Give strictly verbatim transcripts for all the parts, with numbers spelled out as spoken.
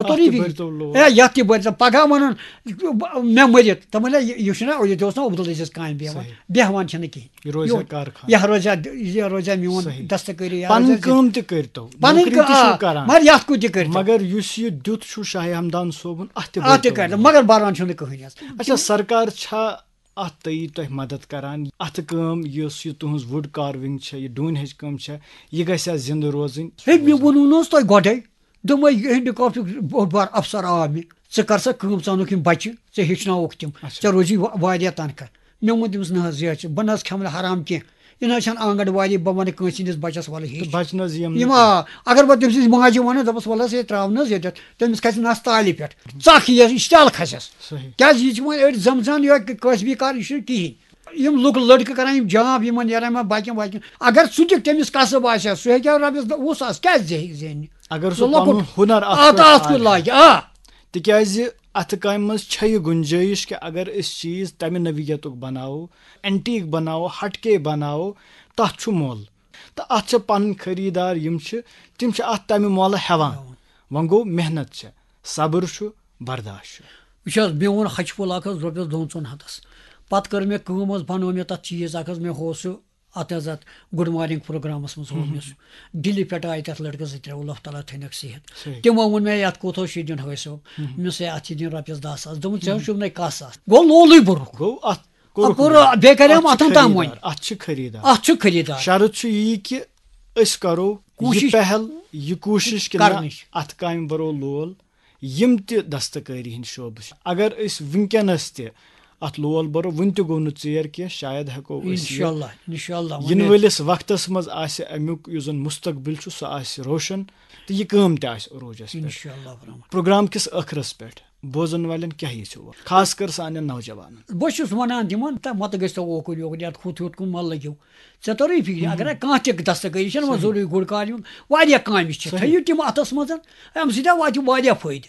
توٚرُے فِکرِ۔ بٔرۍتو لول۔ اے، یَتھ تہِ بٔرۍزٮ۪و۔ پَگاہ وَنُن، مےٚ مٔرِتھ۔ تَمہِ لَٹہِ یہِ، یہِ چھُنہ، یہِ تہِ اوس نہ عبدالعزیز کامہِ بیٚہوان۔ صحیح۔ بیٚہوان چھِنہٕ کِہیٖنۍ۔ یہِ روزِ ہا یہِ، کارخان۔ یہِ روزِ ہا، یہِ روزِ ہا میون صحیح۔ دستکٲری، یہِ پَنٕنۍ روزِ ہا کٲم تہِ کٔرۍتو۔ پَنٕنۍ نوکری تہِ کٲ-، چھِو آ، کران۔ مگر یَتھ کُن تہِ کٔرۍتو۔ مگر یُس یہِ دیُت چھُ شاہ ہمدان صٲبُن، اَتھ تہِ اَتھ تہِ بٔرۍتو کٔرۍتو۔ لول۔ مگر بَران چھُنہٕ کٕہٕنۍ حظ۔ اچھا، سرکار چھا اَتھ تہِ یی تۄہہِ مدد کران؟ اَتھٕ کٲم یُس یہِ تُہٕنٛز wood carving چھےٚ، یہِ ڈوٗنۍ ہٕنٛز کٲم چھےٚ، یہِ گژھِ ہا زِندٕ روزٕنۍ؟ ہے، مےٚ ووٚنوُ نہٕ حظ تۄہہِ گۄڈَے، دوٚپمَے، یہِ handicraftُک بوٚڑ بار افسر آو مےٚ، ژٕ کر سا کٲم، ژٕ اَنُکھ یِم بَچہِ، ژےٚ ہیٚچھناوُکھ تِم، اچھا۔ ژےٚ روزی وا-، واریاہ تنخواہ۔ مےٚ ووٚن تٔمِس، نہ حظ، یہِ حظ چھِ، بہٕ نہ حظ کھٮ۪مہٕ نہٕ حرام کینٛہہ، یہِ نہ حظ چھَنہٕ آنٛگَن واڑی، بہٕ وَنہٕ کٲنٛسہِ ہِنٛدِس بَچَس وَلہٕ ہیٚچھ۔ بَچہِ نہ حظ یِم یِم، نہٕ آ، اگر بہٕ تٔمۍ سٕنٛزِ ماجہِ وَنہٕ، دَپَس، وَلہٕ حظ، ہے، ترٛاو نہ حظ ییٚتٮ۪تھ، تٔمِس کھَسہِ نَس تالہِ پٮ۪ٹھ، ژَکھ یِیَس، یہِ چھِ تَل کھَسٮ۪س۔ صحیح۔ کیٛازِ یہِ چھِ وۄنۍ أڑۍ زَمژان یِہوٚے کٲسبی کار، یہِ چھُنہٕ کِہیٖنۍ۔ یِم لُکھ لٔڑکہٕ کَران، یِم جاب یِمَن نیران یِمَن باقیَن واقیَن، اگر سُہ تہِ تٔمِس کَسٕب آسہِ ہا، سُہ ہیٚکہِ ہا رۄپیَس دَہ وُہ ساس کیٛازِ زِ-، زینہِ؟ اگر سُہ سُہ لۄکُٹ پَنُن ہُنَر اَتھ اَتھ، پٮ۪ٹھ اَتھ کُن تھاوِ ہا۔ لاگہِ، آ۔ تِکیٛازِ اَتھٕ کامہِ منٛز چھےٚ یہِ گُنجٲیِش کہِ اگر أسۍ چیٖز تَمہِ نوعیتُک بَناوو، antique بَناوو، ہَٹکے بَناوو، تَتھ چھُ مۄل۔ تہٕ اَتھ چھِ پَنٕنۍ خریٖدار یِم چھِ، تِم چھِ اَتھ تَمہِ مۄلہٕ ہٮ۪وان۔ ہٮ۪وان۔ وۄنۍ گوٚو محنت چھےٚ، صبر چھُ، برداشت چھُ۔ وٕچھ حظ، مےٚ ووٚن ہَچہِ پھوٚل اَکھ حظ رۄپیَس دۄن ژۄن ہَتَس۔ پَتہٕ کٔر مےٚ کٲم حظ، بَنوو مےٚ تَتھ چیٖز اَکھ حظ، مےٚ ہوو سُہ اَتھ حظ اَتھ Good Morning پروگرامَس منٛز ہوو مےٚ سُہ۔ دِلہِ پٮ۪ٹھ آیہِ تَتھ لٔڑکَس زٕ ترٛےٚ، اللہ تعالیٰ تھٲینَکھ صحت۔ صحیح۔ تِمو ووٚن مےٚ، یَتھ کوٗتاہ چھُے دیُن حٲج صٲب؟ مےٚ دوٚپمَس، ہے، اَتھ چھِ دِنۍ رۄپیَس دَہ ساس۔ دوٚپُن، ژےٚ حظ چھُنہٕ کَہہ ساس۔ گوٚو لولٕے بوٚرُکھ۔ گوٚو اَتھ کوٚرُکھ اَپُر محنت۔ بیٚیہِ کَریوم اَتھ چھِ اَتھَن تام خریٖدار، وۄنۍ۔ اَتھ چھِ خریٖدار۔ اَتھ چھُ خریٖدار۔ شرط چھُ یی کہِ أسۍ کَرو یہِ کوٗشِش پہل، یہِ کوٗشِش کہِ نہ، کَرنٕچ۔ اَتھ کامہِ بَرو لول۔ یِم تہِ دستکٲری ہِنٛدۍ شعبہٕ چھِ، اگر أسۍ وٕنکیٚنَس تہِ اَتھ لول بَرو، وٕنہِ تہِ گوٚو نہٕ ژیر کینٛہہ، شاید ہٮ۪کو أسۍ یہِ اِنشاءاللہ، اِنشاءاللہ، وۄنۍ یِنہٕ وٲلِس وقتَس منٛز آسہِ اَمیُک یُس زَن مُستقبِل چھُ، سُہ آسہِ روشَن تہٕ یہِ کٲم تہِ آسہِ عروٗجَس پٮ۪ٹھ۔ اِنشاءاللہ الرحمن۔ پروگرام کِس ٲخرَس پٮ۪ٹھ بوزن والٮ۪ن کیٛاہ یژھِو وَنُن؟ خاص کر سانٮ۪ن نوجوانن۔ بہٕ چھُس وَنان تِمن، تہٕ مَتہٕ گٔژھۍ تو اوکُن یوکُن، یَتھ ہُتھ ہیوٚت کُن مَہ لٔگِو۔ ژےٚ توٚرُے فِکرِ، اگر کانٛہہ تہِ دستکٲری چھَنہٕ وۄنۍ ضروٗری good carving، واریاہ کامہِ چھِ، صحیح۔ تھٲیِو تِم اَتھَس منٛز، اَمہِ سۭتۍ واتہِ واریاہ فٲیدٕ۔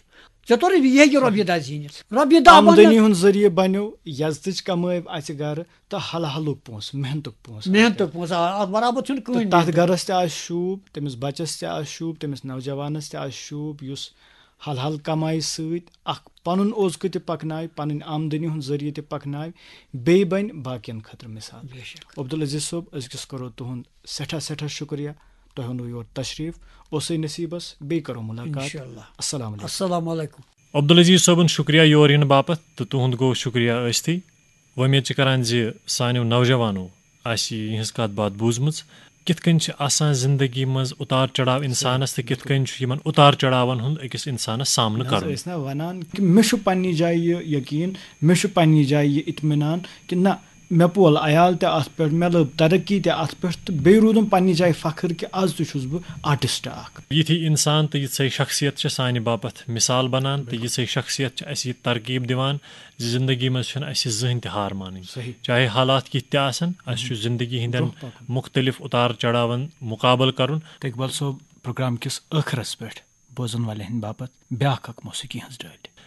ژےٚ توٚرُے، یہِ ہیٚکہِ رۄپیہِ دَہ زیٖنِتھ۔ رۄپیہِ دَہ آمدنی بَنَن۔ ہُنٛد ذٔریعہٕ بَنیو، یَزتٕچ کَمٲے اَژِ گَرٕ، تہٕ حلحلُک پونٛسہٕ، محنتُک پونٛسہٕ آسہِ۔ محنتُک پونٛسہٕ، آ، اَتھ برابر چھُنہٕ تہٕ کٕہٕنۍ تَتھ محنت۔ گَرَس تہِ آسہِ شوٗب، تٔمِس بَچَس تہِ آسہِ شوٗب، تٔمِس نوجوانَس تہِ آسہِ شوٗب، یُس حلحل کمایہِ سۭتۍ اکھ پنُن اوزکہٕ تہِ پکناوِ، پنٕنۍ آمدنی ہُنٛد ذٔریعہٕ تہِ پکناوِ، بیٚیہِ بنہِ باقین خٲطرٕ مثال۔ بے شک۔ عبدالعزیز صٲب، أزکِس کرو تُہُنٛد سٮ۪ٹھاہ سٮ۪ٹھاہ شُکریہ، تۄہہِ اوٚنوٕ یور تشریف، اوسُے نصیٖبس، بیٚیہِ کرو مُلاقات۔ انشاءاللہ۔ السلام علیکم۔ السلام علیکم۔ عبدالعزیز صٲبُن شُکریہ یور یِنہٕ باپتھ تہٕ تُہُنٛد گوٚو شُکریہ ٲسۍتھٕے۔ وۄمید چھِ کران زِ سانیو نوجوانو آسہِ یِہٕنٛز کَتھ باتھ بوٗزمٕژ، کِتھ کٔنۍ چھِ آسان زِندگی منٛز اُتار چڑاو اِنسانَس تہٕ کِتھ کٔنۍ چھُ یِمَن اُتار چڑاوَن ہُنٛد أکِس اِنسانَس سامنہٕ نہ حظ، کَرُن۔ أسۍ نہ وَنان کہِ مےٚ چھُ پنٛنہِ جایہِ یہِ یقیٖن، مےٚ چھُ پنٛنہِ جایہِ یہِ اطمینان کہِ نہ، مےٚ پول عیال تہِ اَتھ پٮ۪ٹھ، مےٚ لٔب ترقی تہِ اَتھ پٮ۪ٹھ تہٕ بیٚیہِ روٗدُم پنٛنہِ جایہِ فخر کہِ آز تہِ چھُس بہٕ artist اَکھ۔ یِتھی اِنسان تہٕ یِژھے شخصیت چھِ سانہِ باپتھ مثال بنان تہٕ یِژھے شخصیت چھِ اَسہِ یہِ ترغیب دِوان زِ زندگی منٛز چھُنہٕ اَسہِ زٕہٕنۍ تہِ ہار مانٕنۍ۔ صحیح۔ چاہے حالات کِتھ تہِ آسن، اَسہِ چھُ زندگی ہٕنٛدٮ۪ن برٛونٛہہ پکُن۔ مُختلف اُتار چڑاوَن مُقابلہٕ کرُن۔ تہٕ اقبال صٲب، پروگرام کِس ٲخرس پٮ۪ٹھ بوزن والٮ۪ن ہٕنٛدِ باپتھ بیٛاکھ اکھ موسیقی ہٕنٛز ڈٲلۍ۔